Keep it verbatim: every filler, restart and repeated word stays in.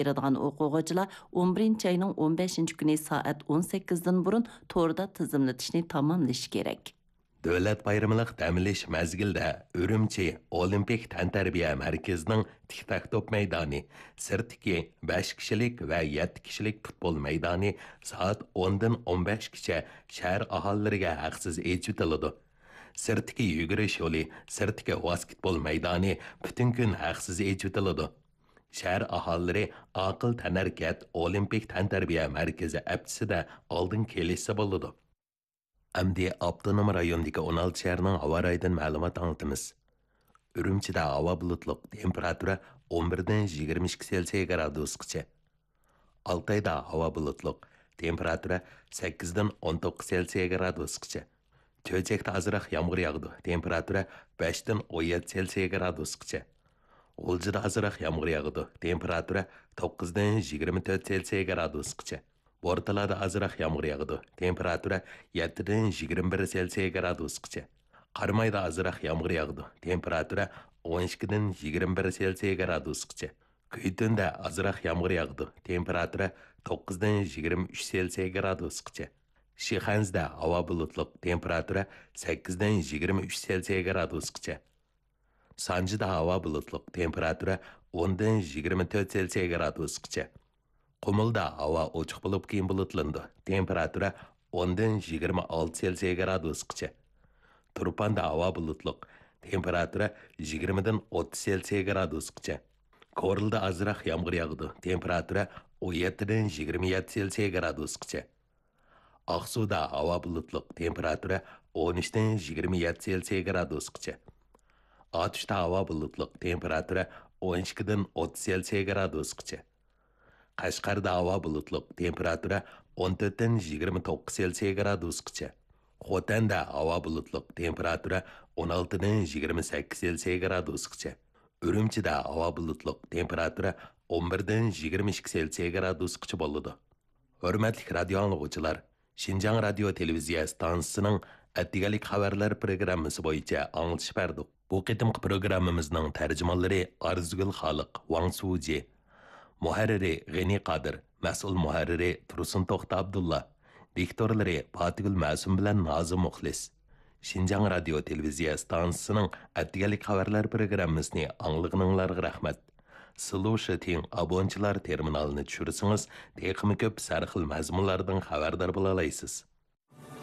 بېرىدىغان ئوقۇغۇچىلار ئون بىرىنچى ئاينىڭ ئون بەشىنچى كۈنى سائەت ئون سەككىزدىن بۇرۇن توردا تىزىملىتىشنى تاماملىشى كېرەك. دۆلەت بايرىملىق دەم ئېلىش مەزگىلىدە ئۈرۈمچى ئولىمپىك تەنتەربىيە مەركىزىنىڭ تىك تاك توپ مەيدانى، سىرتتىكى بەش كىشىلىك ۋە يەتتە كىشىلىك پۇتبول مەيدانى سائەت ئوندىن ئون بەشكىچە شەھەر ئاھالىلىرىگە ھەقسىز ئېچىۋېتىلىدۇ. سىرتتىكى يۈگۈرۈش يولى، سىرتتىكى ۋاسكېتبول مەيدانى پۈتۈن كۈن ھەقسىز ئېچىۋېتىلىدۇ. شەھەر ئاھالىلىرى ئاقىل تەنھەرىكەت ئولىمپىك تەنتەربىيە مەركىزى ئەپچىسىدە ئالدىن كېلىشسە بولىدۇ. ئەمدى ئاپتونوم رايوندىكى ئون ئالتە شەھەرنىڭ ھاۋا رايىدىن مەلۇمات ئاڭلىتىمىز. ئۈرۈمچىدە ھاۋا بۇلۇتلۇق، تېمپېراتۇرا ئون بىردىن يىگىرمە ئىككى سېلسىيە گرادۇسقىچە. ئالتايدا ھاۋا بۇلۇتلۇق، تېمپېراتۇرا سەككىزدىن ئون توققۇز سېلسىيە گرادۇسقىچە. چۆچەكتە ئازراق يامغۇر ياغىدۇ، تېمپېراتۇرا بەشتىن ئون يەتتە سېلسىيە گرادۇسقىچە. غۇلجىدا ئازراق يامغۇر ياغىدۇ، تېمپېراتۇرا توققۇزدىن يىگىرمە تۆت سېلسىيە گرادۇسقىچە. بورتالادا ئازراق يامغۇر ياغىدۇ، تېمپېراتۇرا يەتتىدىن يىگىرمە بىر سېلسىيە گرادۇسقىچە. قارامايدا ئازراق يامغۇر ياغىدۇ، تېمپېراتۇرا ئون ئىككىدىن يىگىرمە بىر سېلسىيە گرادۇسقىچە. كۈيتۈندە ئازراق يامغۇر ياغىدۇ، تېمپېراتۇرا توققۇزدىن يىگىرمە ئۈچ سېلسىيە گرادۇسقىچە. شىخەنزىدە ھاۋا بۇلۇتلۇق، تېمپېراتۇرا سەككىزدىن يىگىرمە ئۈچ سېلسىيە گرادۇسقىچە. سانجىدا ھاۋا بۇلۇتلۇق، تېمپېراتۇرا ئوندىن يىگىرمە تۆت سېلسىيە گرادۇسقىچە. قۇمۇلدا ھاۋا ئوچۇق بولۇپ، كېيىن بۇلۇتلىنىدۇ، تېمپېراتۇرا ئوندىن يىگىرمە ئالتە سېلسىيە گرادۇسقىچە. تۇرپاندا ھاۋا بۇلۇتلۇق، تېمپېراتۇرا يىگىرمىدىن ئوتتۇز سېلسىيە گرادۇسقىچە. كورلىدا ئازراق يامغۇر ياغىدۇ، تېمپېراتۇرا ئون يەتتىدىن يىگىرمە يەتتە سېلسىيە گرادۇسقىچە. ئاقسۇدا ھاۋا بۇلۇتلۇق، تېمپېراتۇرا ئون ئۈچتىن يىگىرمە يەتتە سېلسىيە گرادۇسقىچە. ئاتۇشتا ھاۋا بۇلۇتلۇق، تېمپېراتۇرا ئون ئىككىدىن ئوتتۇز سېلسىيە گرادۇسقىچە. قەشقەردە ھاۋا بۇلۇتلۇق، تېمپېراتۇرا ئون تۆتتىن يىگىرمە توققۇز سېلسىيە گرادۇسقىچە. خوتەندە ھاۋا بۇلۇتلۇق، تېمپېراتۇرا ئون ئالتىدىن يىگىرمە سەككىز سېلسىيە گرادۇسقىچە. ئۈرۈمچىدە ھاۋا بۇلۇتلۇق، تېمپېراتۇرا ئون بىردىن يىگىرمە ئىككى سېلسىيە گرادۇسقىچە بولىدۇ. ھۆرمەتلىك رادىيو ئاڭلىغۇچىلار، شىنجاڭ رادىيو تېلېۋىزىيە ئىستانسىسىنىڭ ئەتىگەنلىك خەۋەرلەر پروگراممىسى بويىچە ئاڭلىتىش بەردۇق. بۇ قېتىمقى پروگراممىمىزنىڭ تەرجىمانلىرى ئارزۇگۈل خالىق، ۋاڭ سۇجى، مۇھەررىرى غېنى قادىر، مەسئۇل مۇھەررىرى تۇرسۇن توختى ئابدۇللا، دىكتورلىرى پاتىگۈل مەسۇم بىلەن نازىم مۇخلىس. شىنجاڭ رادىيو تېلېۋىزىيە ئىستانسىسىنىڭ ئەتىگەنلىك خەۋەرلەر پروگراممىسىنى ئاڭلىغىنىڭلارغا رەھمەت. سىلۇشىتىڭ ئابونچىلار تېرمىنالىنى چۈشۈرسىڭىز، تېخىمۇ كۆپ سەرخىل مەزمۇنلاردىن خەۋەردار بولالايسىز.